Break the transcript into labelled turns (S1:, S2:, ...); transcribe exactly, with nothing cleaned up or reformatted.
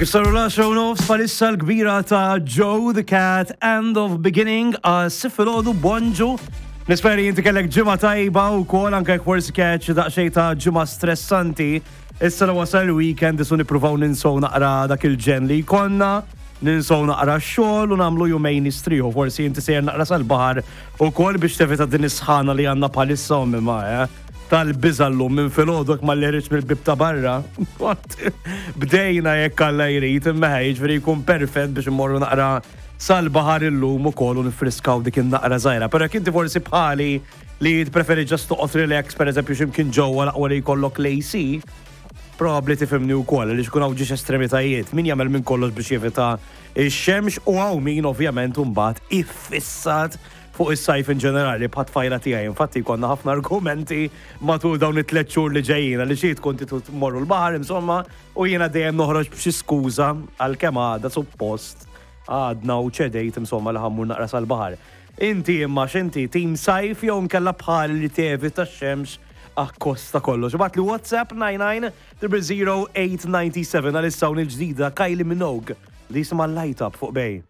S1: Kif saru l-għaxra u nofs palissa, l-kbira ta' Joe the Cat, End of Beginning, għas filgħodu, bonġu. Nispera inti kellek ġimgħa tajba u kol anke jekk forsi catch daqsxejn ta' ġimgħa stressanti. Issa li wasal il-weekend isu nippruvaw ninsow naqra dak il-ġen li jkollna, ninsow naqra x-xogħol u nagħmlu jumejn nistrieħu. Forsi inti sejjer naqra sal-baħar u kol biex tevita din is-sħana li għandna palissa u mimma, eh? Tal-biża' llum minn filgħodu ma l mill-bib ta' barra. Bdejna jekk Alla jrid, imma jiġifieri jkun perfett biex immorru naqra sal-baħar illum ukoll u nifriskaw dik in-naqra żgħira. Però jekk inti forsi bħali li preferi just toqgħod relax, pereżempju x'imkien ġewwa l-aqwa li jkollok l-A C, probabbli tifhimni wkoll li xkun hawn ġiex estremitajiet. Min jagħmel minn kollox biex jevita ix-xemx u hawn min ovvjament mbagħad iffissat fuq is-sajf in ġenerali bħat-tfajla tiegħi. Infatti konna ħafna argumenti matul dawn it-tliet xhur li ġejjin li xi tkun tmorru l-baħar insomma u jiena dejjem noħroġ b'xi skuża, għalkemm għada suppost għadna u ċedejt insomma li ħa mmur naqra sal-baħar. Inti imma x'inti, team sajf jew nkella bħal li tevita x-xemx akkosta kollox? Ibgħatli WhatsApp nine nine zero zero eight nine seven. Għalissa un il-ġdida Kylie Minogue li jisimha Light Up fuq Bay.